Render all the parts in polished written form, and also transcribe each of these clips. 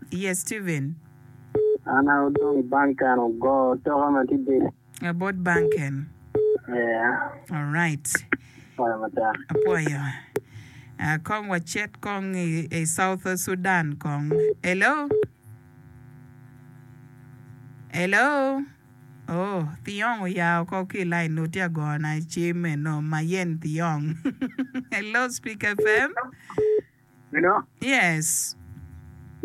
Yes Steven. An a odong i bank-en ogo toka ma tye bedo. Bot bank-en. Yeah. Alright. Apwoyo matek. Apwoyo. Uh, kong wacit kong i, i South Sudan kong. Hello? Hello? Oh, Thiong oya oko ki i line nu tye agona i cim eno, Mayen Thiong. Hello, Speak FM. Hello. Yes.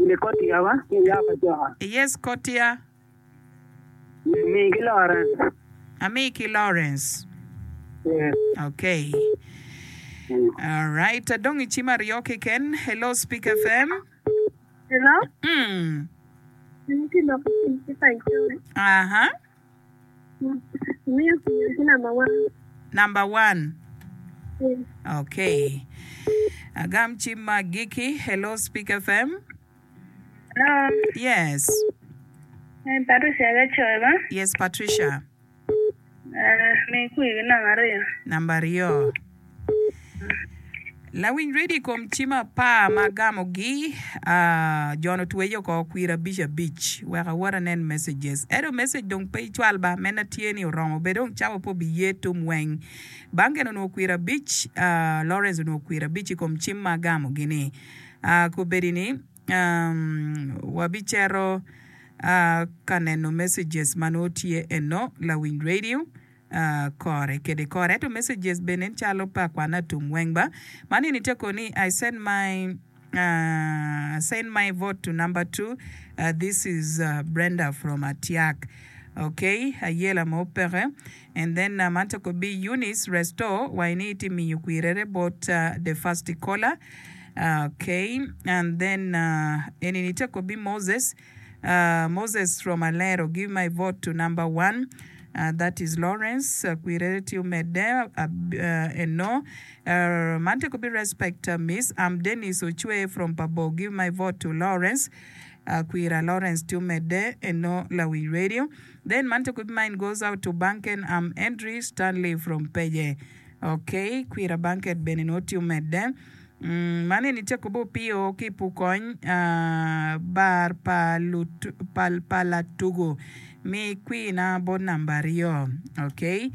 Ini Kotia ba? Ki ya pa joka. Yes Kotia. Mi ki Lawrence. Ami ki Lawrence. Yes. Okay. All right. Adong i cim aryo keken. Hello Speak FM. Hello. Mm. In ki lok ki paco. Aha. Miyo ki number one. Number one. Okay. Agam cim ma agikki. Hello Speak FM. Hello. Yes. Eh, Patricia Gacoy ba? Yes, Patricia. Eh, mi kwi ki namba aryo. Namba aryo. Lawiny redio i kom cim apar ma agamogi, ah, jon otweye oko kwir abic abic wek awot anen messages. Ento message dong pe icwal ba, mena tye ni oromo bed dong cawa pe obiye tum weng. Bangen onongo kwir abic, ah, Lawrence onongo kwir abic i kom cim ma agamogi ni. Ah, kobedi ni, um, wabicito, ah, ka neno messages ma nongo tye eno, lawiny radio. Kore kede kore ento messages bene nen calo pe akwana atum weng ba. Man eni tye ko ni I send my send my vote to number two this is Brenda from Atiak ok ayela mo peke and then man tye ko bi Eunice restore wa ini iti miyo kwirere bot the first caller ok and then eni ni tye ko bi Moses Moses from Alero give my vote to number one that is Lawrence kwirere tye omedde eno man tye kobi respect miss am Dennis Ocwe from Pabor give my vote to Lawrence kwira Lawrence tye omedde eno lawiny radio then man tye kobi mine goes out to Banken am Andrew Stanley from Peye ok kwira Banket bene nongo tye omedde. Man eni tye kobo opio ki pukony bar pa pa latugo mi kwina bot namba aryo ok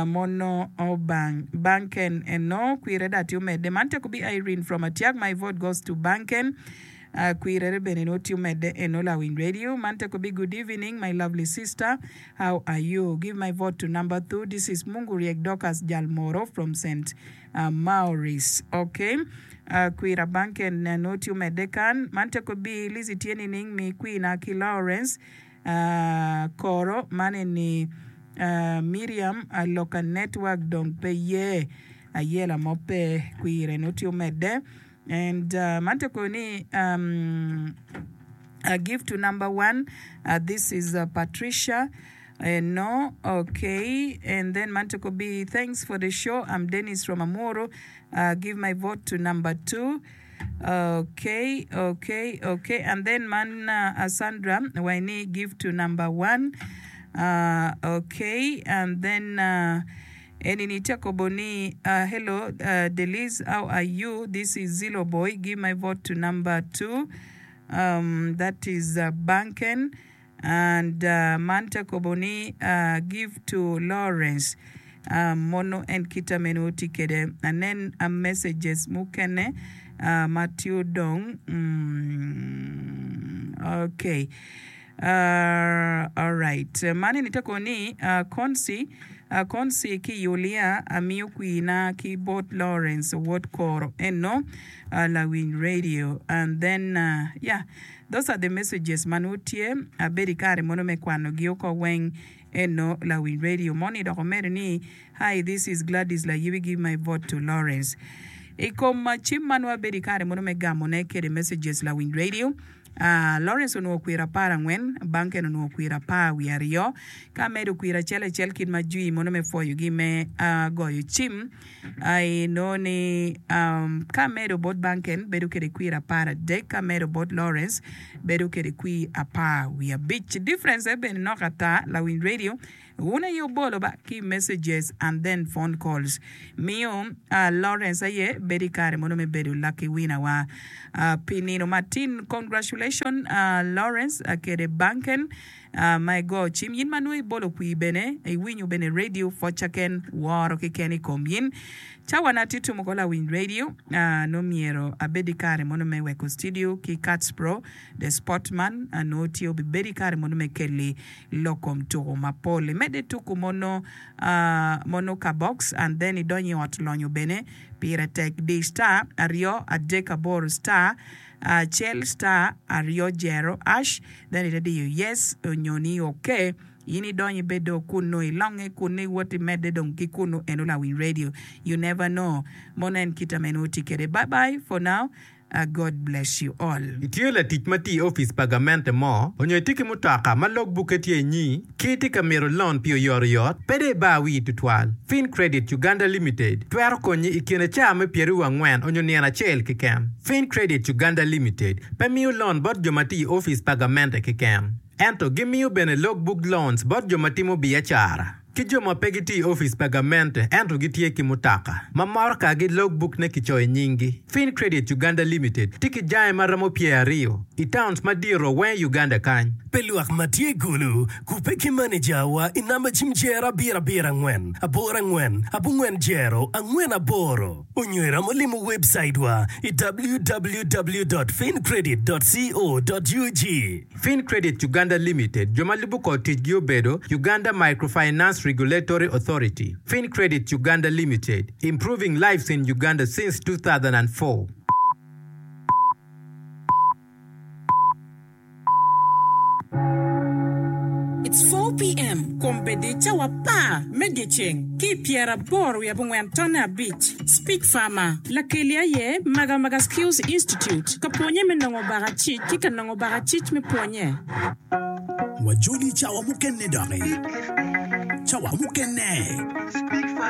mono obang banken eno kwire da tye omedde man tye kobi Irene from Atiak my vote goes to banken kwirere bene nongo tye omedde eno lawiny radio man tye kobi good evening my lovely sister how are you give my vote to number thu this is Mungu Riek Dorcas Jalmoro from St. Maurice, Ok. Kwira Banken nongo tye omedde kan. Man teko bi Lizzy tye nining mi kwina ki Lawrence Koro man eni Miriam Aloka network dong pe ye ayela mo pe kwire nongo tye omedde and man teko ni give to number one this is Patricia Eno ok and then man toko bi thanks for the show I'm Dennis from Amuru give my vote to number two ok ok ok and then man Sandra wai ni give to number one ok and then eni ni tye kobo ni hello Deliz how are you this is Zilo boy give my vote to number two that is Banken And man te kobo ni give to Lawrence mono en kita meno tye kede anen messages mukene ma tye odong ok alright man eni te kobo ni Konsi Konsi ki Yulia amiyo kwina ki bot Lawrence wod koro eno lawiny radio and then yeah Those are the messages ma nongo tye abedo ikare mono me kwano gi oko weng eno lawiny radio moni dok omedo ni hi this is Gladys Layibi give my vote to Lawrence ikom cim ma nongo abedo ikare mono me gamo ne kede messages lawiny radio ah Lawrence onongo kwir aparangwen Banken onongo kwir apar wiye aryo ka amedo kwir acel acel kit ma jwi mono me pwoyo gi me goyo cim Inongo ni ka amedo bot Banken bedo kwede kwir aparadek, ka amedo bot Lawrence bedo kwede kwir apar wiye abic. Difference aye bene nok ata lawiny radio wun aye wubolo ba ki messages and then phone calls miyo Lawrence aye bedo i kare mono me bedo lucky winner wa pi nino matin. Congratulations. Congratulation Lawrence kede Banken ma igo cim yin ma nongo ibolo kwir bene iwinyo bene radio pwoca ken woro keken ikom yin. Cawa na tye tumo ko lawiny radio nongo myero abed ikare mono me weko studio ki Kats Pro the sport man nongo tye obibedo ikare mono me keli lok kom tuku mapol. Imedde tuku mono mono ka box and then idonyo i ot lonyo bene pire tek di star aryo adek aboro star acel star aryo jero ash then ite diyo yes onyo ni ok in idonyo ibedo kunu ilonge kunu iwot imedde dong ki kunu eno lawiny radio you never know mono en kita meno oti kede bye bye for now God bless you all. Itye latic ma tye i opic pa gamente mo, onyo itye ki mutoka ma log bukke tye inyi, ki itye ka mito lon pi oyotoyot, pe dong ibar wii tutwal. Fin Credit Uganda Limited twero konyi i kine caa me pyeraryo angwen onyo nino acel keken. Fin Credit Uganda Limited pe miyo lon bot jo ma tye i opic pa gamente keken, ento gimiyo bene log book loans bot jo ma timo biacara. Ki jo ma pe gitye i opic pa gamente ento gitye ki mutoka ma motokagi logbukne kicoyo nyinggi. Fin Credit Uganda Limited tye ki jange ma romo pyeraryo i towns madito weng i Uganda kany. Pi lwak ma tye i Gulu, kubbe ki manejawa i namba cim jero abiro abiro angwen aboro angwen abongwen jero angwen aboro onyo iromo limo webcaitwa i www dot fincredit dot co dot ug. Fin Credit Uganda Limited, jo ma lubo kor ticgi obedo, Uganda Microfinance Regulatory Authority, Fin Credit Uganda Limited, improving lives in Uganda since 2004. It's 4 PM, Kombeddi cawa apar me dyeceng ki i pyeraboro wiye abongwen tonne abic. Speech Farmer, Lakeli aye Magamaga Skills Institute ka pwonye me nongo bakacic ki ka nongo bakacic me pwonye. Wajoli cawa mukene doki. Cawa mukene.